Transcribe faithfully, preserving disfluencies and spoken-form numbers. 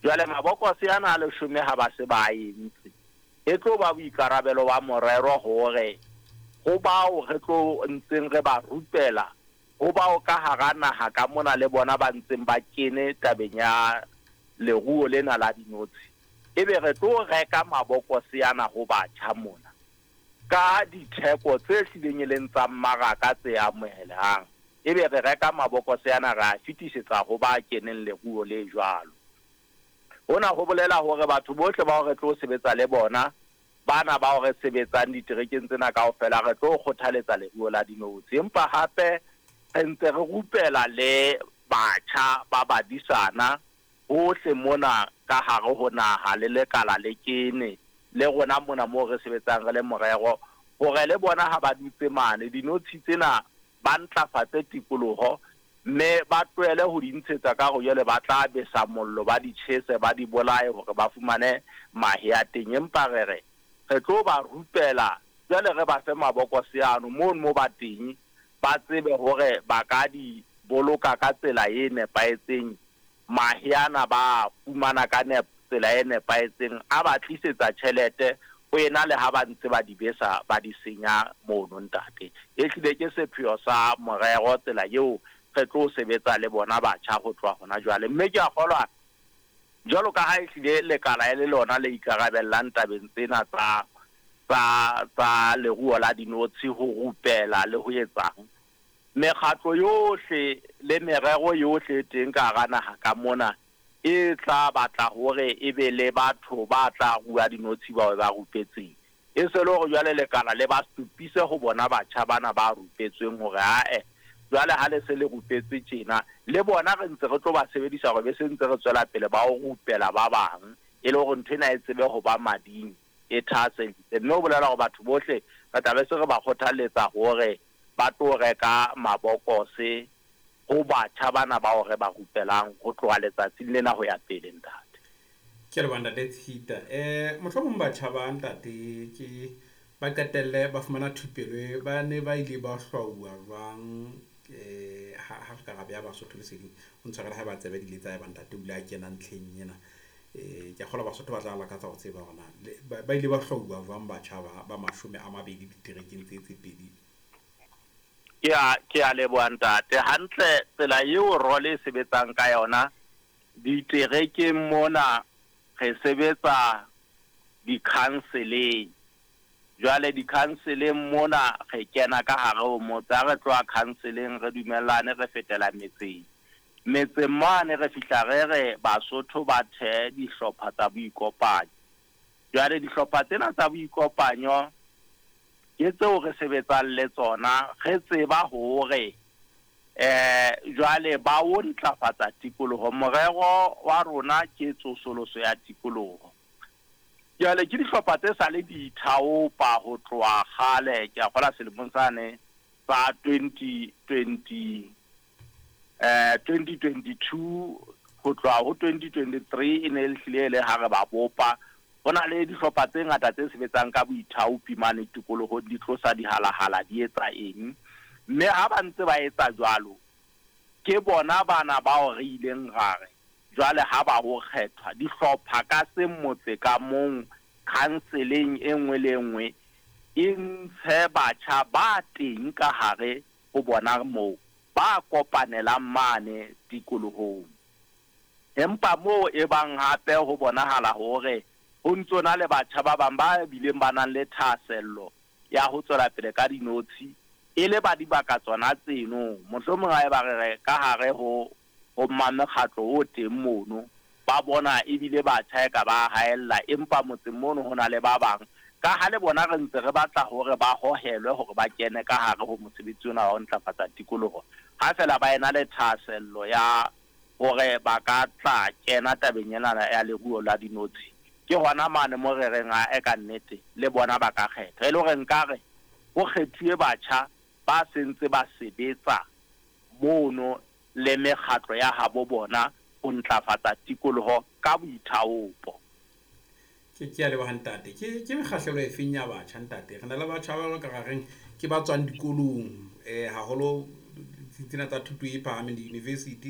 Jwale mabokose ana a leshome ha ba se ba entse, e tlo ba boikarabelo ba morero hore ho bao re tlo ntseng re ba rupela, ho bao ka hara naha ka mona le bona ba ntseng ba kene tabeng ya leruo lena la dinotshi, ebe re tlo reka mabokose ana ho batjha mona ka ditheko tse hlileng e leng tsa mmaraka tse amohelehang. Ebe re reka mabokose ana re a fetisetsa ho ba keneng leruo le jwalo. Hona ho bolela hore batho bohle bao re tlo sebetsa le bona, bana bao re sebetsang diterekeng tsena kaofela, re tlo kgothaletsa leruo la dinotshi. Empa hape re ntse re rupela le batjha ba badisana hohle mona ka hare ho naha le lekala le kene le rona mona moo re sebetsang re le morero, hore le bona ha ba dutse mane dinotshi tsena ba ntlafatse tikoloho, mme ba tlohele ho di ntshetsa ka hore jwale ba tla besa mollo, ba di tjhese, ba di bolaye hore ba fumane mahe a teng. Empa re re re tlo ba rupela jwale, re ba fe mabokose ano mono mo ba teng, ba tsebe hore ba ka di boloka ka tsela e nepahetseng. Mahe ana ba fumana ka tsela e nepahetseng, a ba tlisetsa tjhelete ho ena le ha ba ntse ba di besa, ba di senya mono ntate. E hlile ke sepheo sa morero tsela eo re tlo sebetsa le bona batjha ho tloha hona jwale. Mme ke a kgolwa jwalo ka ha e hlile lekala e le lona le ikarabellang tabeng tsena tsa tsa tsa leruo la dinotshi, ho rupela le ho etsang, mekgatlo yohle le merero yohle e teng ka hara naha ka mona e tla batla hore e be le batho ba tla rua dinotshi bao ba rupetseng. E se le hore jwale lekala le ba supise ho bona batjha bana ba rupetsweng hore ae jwale ha le se le rupetswe tjena, le bona re ntse re tlo ba sebedisa hore be se ntse re tswela pele ba o rupela ba bang, e le hore ntho ena e tsebe ho ba mading, e thahasellise. Mme ho bolela hore batho bohle re tla be se re ba kgothalletsa hore ba tlo reka mabokose ho batjha bana bao re ba rupelang ho tloha letsatsing lena ho ya pele ntate. Ke a leboha ntate Tshita. Eh mohlomong batjha ba ntate ke ba qetelle ba fumana thupelo e, ba ne ba ile ba hlwauwa jwang eh ha ha re ka ra beha Basotho leseding. O ntshwarele ha ba tsebe di ile tsa eba ntate o ile a kena ntlheng ena. Eh ke a kgolwa Basotho ba tla lakatsa ho tseba hore na ba ile ba hlwauwa jwang batjha ba ba mashome a mabedi diterekeng tse tse pedi. Ke a ke a leboha ntate. Hantle tsela eo role e sebetsang ka yona diterekeng mona, re sebetsa di-counseling. Jwale di-counseling mona re kena ka hare ho motse, ha re tloha counseling re dumellane re fetela metseng. Metseng mane re fihla re re Basotho ba thehe dihlopha tsa boikopanyo. Jwale dihlopha tsena tsa boikopanyo ke tseo re sebetsang le tsona, re tseba hore eh jwale ba o ntlafatsa tikoloho. Morero wa rona ke tsosoloso ya tikoloho. Jwale ke dihlopha tse sa le di ithaopa ho tloha kgale, ke a kgolwa selemong sane sa twenty twenty, eh, twenty twenty-two ho tloha ho twenty twenty-three e ne e hlile e le ha re ba bopa. Ho na le dihlopha tse ngata tse sebetsang ka boithaopi mane tikolohong, di tlosa dihalahala, di etsa eng. Mme ha ba ntse ba etsa jwalo, ke bona bana bao re ileng ra re jwale ha ba ho kgethwa dihlopha ka seng motse ka mong, counseling e nngwe le e nngwe e ntshe batjha ba teng ka hare ho bona moo ba kopanelang mane tikolohong. Empa moo e bang hape ho bonahala hore ho ntso na le batjha ba bang ba bileng ba nang le thahasello ya ho tswela pele ka dinotshi, e le ba dibaka tsona tseno. Mohlomong ha eba re re ka hare ho ho mmamekgatlo o teng mono, ba bona ebile batjha e ka ba haella, empa motseng mono ho na le ba bang. Ka ha le bona re ntse re batla hore ba hohelwe hore ba kene ka hare ho mosebetsi ona wa ho ntlafatsa tikoloho, ha fela ba ena le thahasello ya hore ba ka tla kena tabeng ena ya leruo la dinotshi, ke hona mane mo re reng a e ka nnete le bona ba ka kgetha. E le hore nkare ho kgethuwe batjha ba sentse ba sebetsa mono le mekgatlo ya habo bona ho ntlafatsa tikoloho ka boithaopo. Ke ke a leboha ntate. Ke ke mekgahlelo e feng ya batjha ntate? Re na le batjha ba ka reng ke ba tswang dikolong, eh haholo tsena tsa thuto e phahameng di-university.